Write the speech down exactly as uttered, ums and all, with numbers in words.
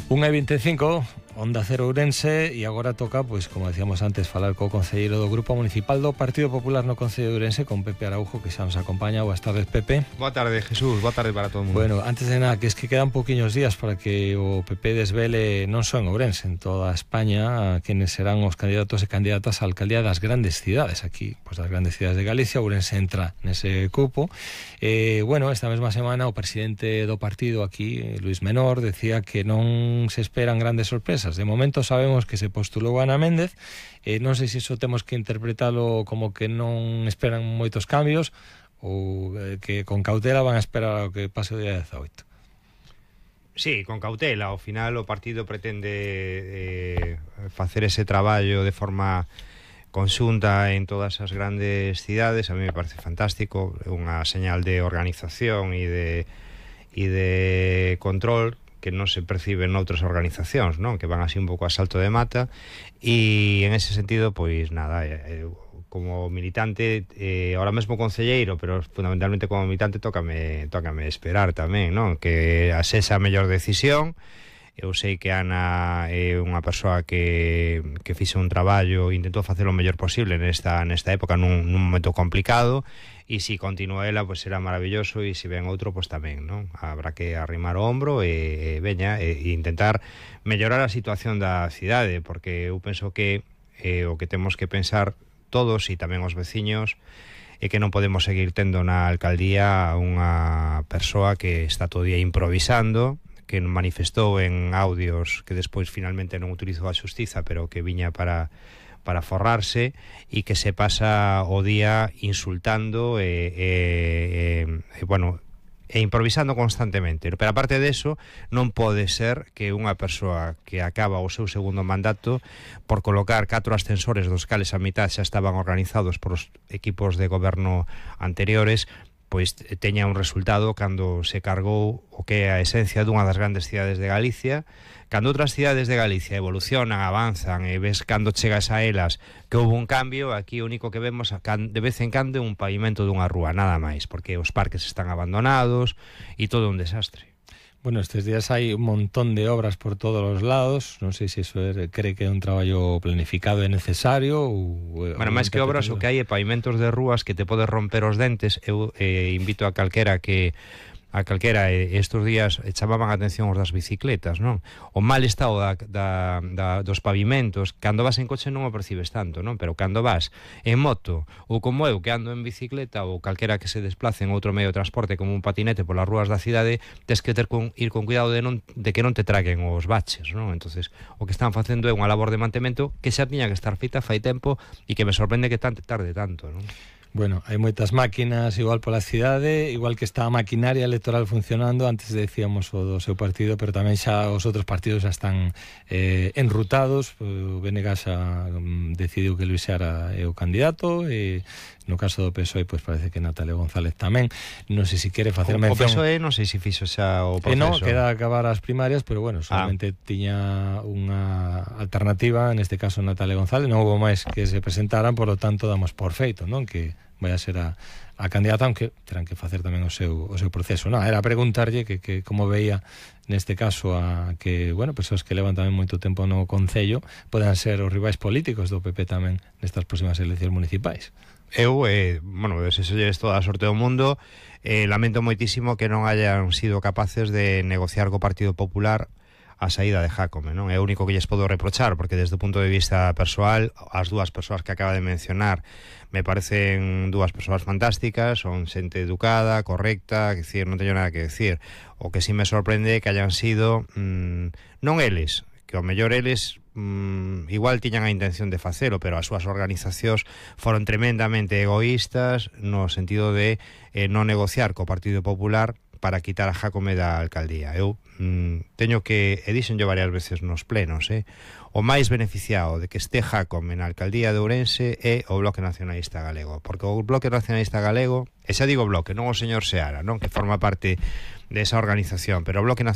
unha e vinte e cinco, Onda Cero Ourense, e agora toca, pois, como decíamos antes, falar co concelleiro do Grupo Municipal do Partido Popular no Concello de Ourense, con Pepe Araujo, que xa nos acompaña. Boas tardes, Pepe. Boa tarde, Jesús, boa tarde para todo o mundo. Bueno, antes de nada, que es que quedan poquinhos días para que o P P desvele non só en Ourense, en toda España, a quienes serán os candidatos e candidatas á alcaldía das grandes cidades. Aquí, pois, das grandes cidades de Galicia, Ourense entra nese cupo. Eh, bueno, esta mesma semana o presidente do partido aquí, Luis Menor, decía que non se esperan grandes sorpresas. De momento sabemos que se postulou Ana Méndez, eh, non sei se iso temos que interpretalo como que non esperan moitos cambios ou eh, que con cautela van a esperar ao que pase o día dezaoito. Sí, con cautela. Ao final o partido pretende eh, facer ese traballo de forma conxunta en todas as grandes cidades. A mí me parece fantástico, unha señal de organización e de, e de control que non se percibe en outras organizacións, non? Que van así un pouco a salto de mata, e en ese sentido, pois nada, eh, como militante, eh, ahora mesmo concelleiro, pero fundamentalmente como militante tócame, tócame esperar tamén, non? Que a sexa a mellor decisión. Eu sei que Ana é unha persoa que, que fixe un traballo, intentou facer o mellor posible nesta, nesta época, nun, nun momento complicado, e se continúa ela, pois será maravilloso, e se ven outro, pois tamén, non? Habrá que arrimar o ombro e, e veña, e, e intentar mellorar a situación da cidade, porque eu penso que eh, o que temos que pensar todos, e tamén os veciños, é que non podemos seguir tendo na alcaldía unha persoa que está todo día improvisando, que manifestou en audios que despois finalmente non utilizou a xustiza, pero que viña para para forrarse, e que se pasa o día insultando e, e, e, e bueno, e improvisando constantemente. Pero aparte de eso, non pode ser que unha persoa que acaba o seu segundo mandato, por colocar catro ascensores dos cales a mitad xa estaban organizados por os equipos de goberno anteriores, pois teña un resultado cando se cargou o que é a esencia dunha das grandes cidades de Galicia. Cando outras cidades de Galicia evolucionan, avanzan, e ves cando chegas a elas que houve un cambio, aquí o único que vemos de vez en cando é un pavimento dunha rúa, nada máis, porque os parques están abandonados e todo un desastre. Bueno, estes días hai un montón de obras por todos os lados. Non sei se iso é, cree que é un traballo planificado e necesario ou... Bueno, máis que obras, o que hai é pavimentos de rúas que te podes romper os dentes. Eu eh, invito a calquera que a calquera eh, estes días chamaban a atención os das bicicletas, non? O mal estado da, da, da, dos pavimentos, cando vas en coche non o percibes tanto, non? Pero cando vas en moto, ou como eu que ando en bicicleta, ou calquera que se desplace en outro medio de transporte como un patinete polas rúas da cidade, tes que ter con, ir con cuidado de, non, de que non te traguen os baches, non? Entonces, o que están facendo é unha labor de mantemento que xa tiña que estar feita fai tempo, e que me sorprende que tanto tarde tanto, non? Bueno, hai moitas máquinas igual pola cidade, igual que está a maquinaria electoral funcionando. Antes decíamos o do seu partido, pero tamén xa os outros partidos xa están eh, enrutados. O B N G xa um, decidiu que Luis Seara é o candidato, e no caso do P S O E, pois parece que Natalia González tamén. Non sei se quere facer mención. O P S O E non sei se fixo xa o proceso. E non, queda acabar as primarias, pero bueno, solamente ah. tiña unha alternativa, neste caso Natalia González. Non houve máis que se presentaran, por lo tanto damos por feito, non? Que vai a ser a, a candidata, aunque terán que facer tamén o seu, o seu proceso. Non, era preguntarlle que, que como veía neste caso a que, bueno, persoas que levan tamén moito tempo no Concello poden ser os rivais políticos do P P tamén nestas próximas eleccións municipais. Eu, eh, bueno, desexolles toda a sorte do mundo. eh, lamento moitísimo que non hayan sido capaces de negociar co Partido Popular a saída de Jácome, non? É o único que lles podo reprochar, porque desde o punto de vista persoal, as dúas persoas que acaba de mencionar me parecen dúas persoas fantásticas, son xente educada, correcta, que decir, non teño nada que decir. O que sí me sorprende é que hayan sido mmm, non eles, que ao mellor eles mmm, igual tiñan a intención de facelo, pero as súas organizacións foron tremendamente egoístas no sentido de eh, non negociar co Partido Popular para quitar a Jácome da alcaldía. Eu mm, teño que, e dixen yo varias veces nos plenos, eh, o máis beneficiado de que este Jácome na alcaldía de Ourense é o Bloque Nacionalista Galego, porque o Bloque Nacionalista Galego, e xa digo Bloque, non o señor Seara, non, que forma parte desa organización, pero o Bloque Nacionalista